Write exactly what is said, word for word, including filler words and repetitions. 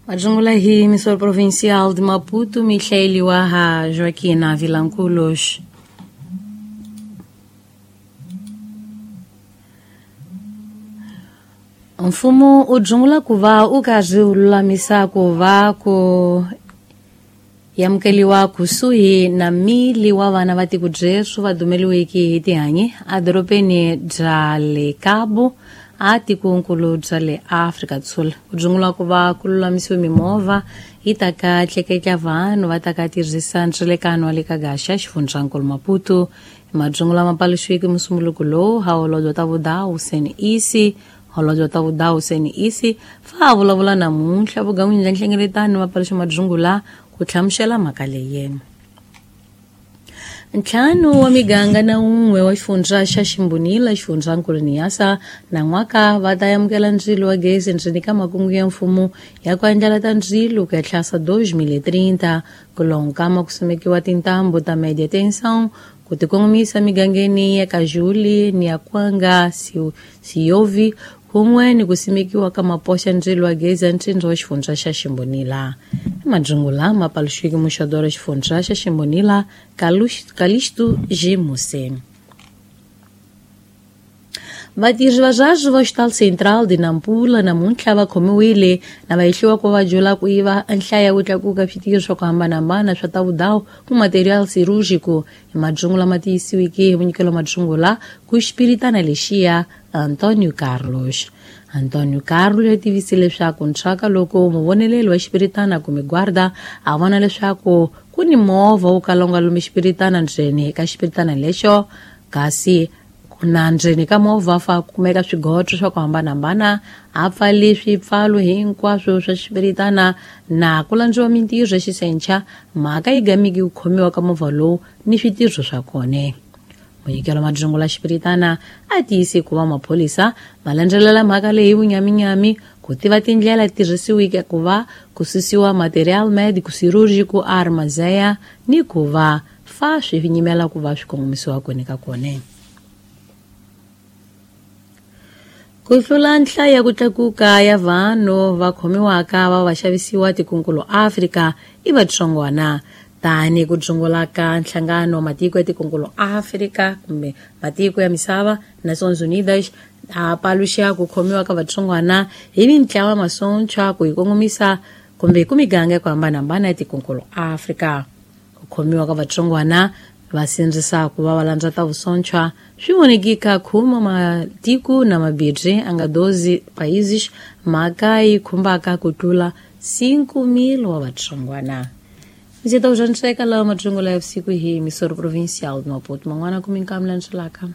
Majungula hi emissora provincial de Maputo, Michele Waha, Joaquina Vilanculos. Mfumo u dzungula ku va u karhi u lulamisa ku va ku yamukeliwa kusuhi na mili wa vana va tiko Jesu va dumeliweke hi tihanyi edorobeni bya le Cabo a tikonkulu bya le Afrika Dzonga. Ku dzungula ku va ku lulamisiwe mimovha yi ta ka tleketla vanhu va ta ka tirhisa ndzelekano wa le ka gaxa xifundzankulu Maputo. Madzungula ma paluxiweke musumbuluko lowu ha holobye ta vudawu Sen Isi holobye ta vudawu Sen Isi fa a vulavula namuntlha vugan'wini bya nhlengeletano va paluxa madzungula ku hlamusela mhaka leyi. Ntlhanu wa miganga na un'we wa xifundza xa Ximbonila xifundzankulu Niassa na n'waka va ta amukela ndzilo wa gezi ndzeni ka makungu ya mfumo ya ku andlala ta ndzilo ku ya tlhasa dos mil e trinta ku lonkama ku simekiwa tintambu ta média tensão ku tikongomisa migangeni ya Kajuli ni ya Kwanga Siyovi kun'we ni ku simekiwa ka mapoxa ndzilo wa gezi ya ntsindza wa xifundza xa Ximbonila. Madzungula ma paluxiweke muxadoro xifundza xa Ximbonila Calixto G. Musse. Vatirhi va zwazo va Hospital Central de Nampula namuntlha va khomiwile na va hehliwa ku va jola ku yiva nhlayo ya ku tlakuka switirho swa ku hambanahambana swa ta vudawu ku material cirúrgico hi madzungula ma tiyisiweke hi munyikelo wa madzungula ku xipiritana lexiya Antonio Carlos. Antonio Carlos u tivise leswaku ntswaka loko muvoneleli wa xipiritana kumbe guarda a vona leswaku ku ni movha wo kala wu nga lumi xipiritana ndzeni ka xipiritana lexo kasi na ndzeni ka movha fa kumeka swigotso swa ku hambanahambana a pfali swipfalo hinkwaswo swa xipiritana na ku landziwa mintirho ya xisencha mhaka yi gamiki ku khomiwa ka movha lowu ni switirho swa kona. Munyikelo wa madzungula xipiritana a tiyise ku va maphorisa ma landzelela mhaka leyi vunyaminyami ku tiva tindlela tirhisiweke ku va ku susiwa material médico cirúrgico armazeya ni ku va fa swi nyimela ku va swi kongomisiwa kona ka kona. Ku hlula nhlayo ya ku tlakuka ya vanhu va khomiwaka va va xavisiwa tikonkulu Afrika i vatsongwana tani ku dzungula ka nhlangano wa matiko ya tikonkulu Afrika kumbe matiko ya misava Nações Unidas a paluxa ku khomiwa ka vatsongwana hi mintlawa masontshwa ku yi kongomisa kumbe ku miganga ya ku hambanahambana ya tikonkulu Afrika. Ku khomiwa ka vatsongwana va sindzisa ku va va landza ta vusontshwa swi vonekika khuma matiko na mabindzu a nga doze países mhaka yi khumbaka ku tlula cinco mil wa vatsongwana. Ndzi ta ku swaniseka lawa madzungula ya vusiku hi emissora provincial de Maputo man'wana ku minkamu landzelaka.